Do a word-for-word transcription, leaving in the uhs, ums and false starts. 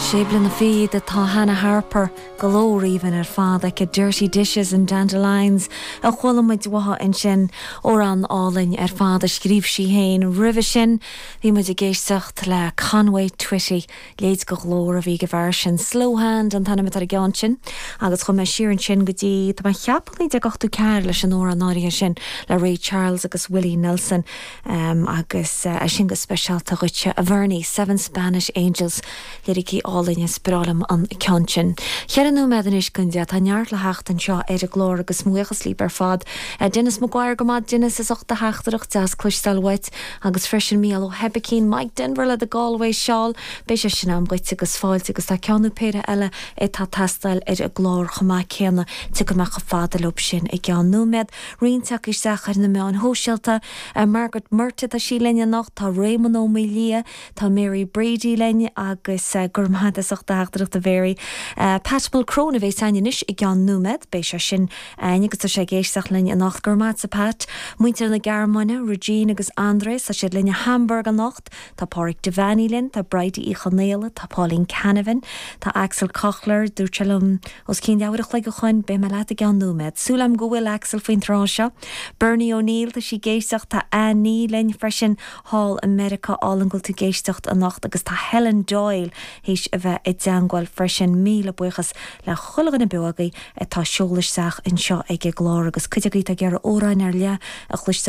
Sé bliana fichead atá Hannah Harper glór aoibhinn ar fad aici Dirty Dishes and Dandelions a chuala muid uaithi ansin amhrán álainn ar fad a scríobh sí féin roimhe sin bhí muid ag éisteacht le Conway Twitty leithéid de ghlór a bhí ag an bhfear sin Slow Hand an t-ainm atá ar an gceann sin agus chuaigh mé siar ansin go dtí tá mé ag ceapadh naoi déag ochtó ceathair leis an amhrán áirithe sin le Ray Charles agus Willie Nelson um, agus uh, sin go speisialta dhuitse a Bhernie Seven Spanish Angels liricí álainn is breá liom an ceann sin. Ceithre nóiméad anois don deich tá neart le theacht anseo ar an gclár agus buíochas libh ar fad. Uh, Dennis Maguire go maith Dennis as ucht do theachtaireacht deas cloisteáil uait agus freisin Mícheál Ó hOibicín Mike Denver le the Galway Shawl Beidh sé sin am dhuit agus fáilte agus tá ceann nó péire eile atá ag teastáil ar an gclár chomh maith céanna tiocfaidh mé chomh fada leo sin i gceann nóiméad roinnt acu isteach ar na meáin shóisialta uh, Margaret Murta tá sí linn anocht tá Raymond Ó Mília tá Mary Brady linn agus uh, gur maith as ucht do theachtaireacht a Mary. Uh, Pat Mulcrone a bheas againn anois i gceann nóiméad, beidh sé sin agus tá sé ag éisteacht linn anocht gur maith a Pat, Muintir na Gearmáine, Regine agus Andres tá siad linn i Hamburg anocht, tá Pádraig Devaney linn, tá Bridie Uí Chonaola, tá Pauline Canavan, tá Axel Kochler dúirt sé liom os cionn leathuair a chloig ó shin beidh mé leat i gceann nóiméad. Súil agam go bhfuil Axel faoin tráth seo. Bernie O'Neill tá sí ag éisteacht tá Anní linn freisin thall i Meiriceá álainn go bhfuil tú ag éisteacht anocht agus tá Helen Doyle théis a bheith i dteagmháil freisin míle buíochas le chuile dhuine beo agaibh atá ag seoladh isteach anseo ag an gclár agus cuid agaibh ag iarraidh amhráin ar leith a chloisteáil